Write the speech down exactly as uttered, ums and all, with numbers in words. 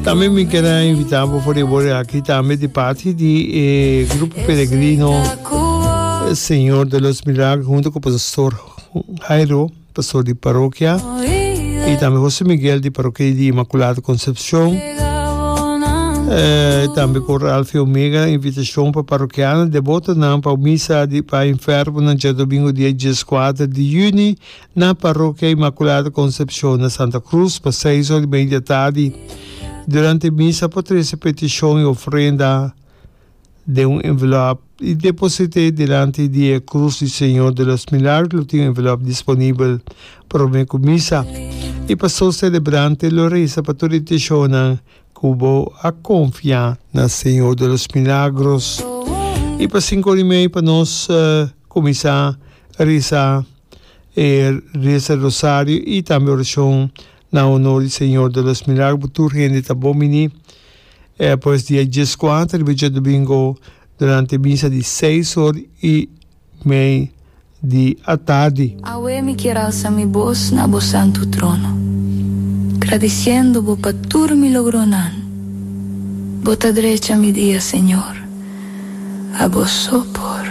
Tambe mi kier a invita bo for di wor aki tambe di parti di e grupo peregrino Señor de los Milagros hunto cu Pastor Jairo, pastor di parokia, y tambe Jose Miguel di parokia di Inmaculada Concepcion. Eh, tambe cu Ralph Omega invitacion pa parokiano debotonan pa misa di pa enfermonan djadomingo dia dieskuater di juni na Parokia Inmaculada Concepcion na Santa Cruz pa seis ora y media di atardi. Durante misa por trece peticion y ofrenda den un envelop y deposite dilanti di e Cruz di Señor de los Milagros. Lo tin un envelop disponibel prome cu misa y pastor celebrante lo reza pa tur intencionnan cu bo a confia na Señor de los Milagros. Y pa cinco ora y media pa nos cuminsa reza e reza rosario y tambe oracion na honor di Señor de los Milagros. Tur hende ta bon bini eh, pues dia dieskuater riba djadomingo durante misa di seis or y mei di atardi. Awe mi kier alsa mi bos na bo santu trono, gradisiendo bo pa tur mi logronan. Bo ta drecha mi dia, Señor, abo so por.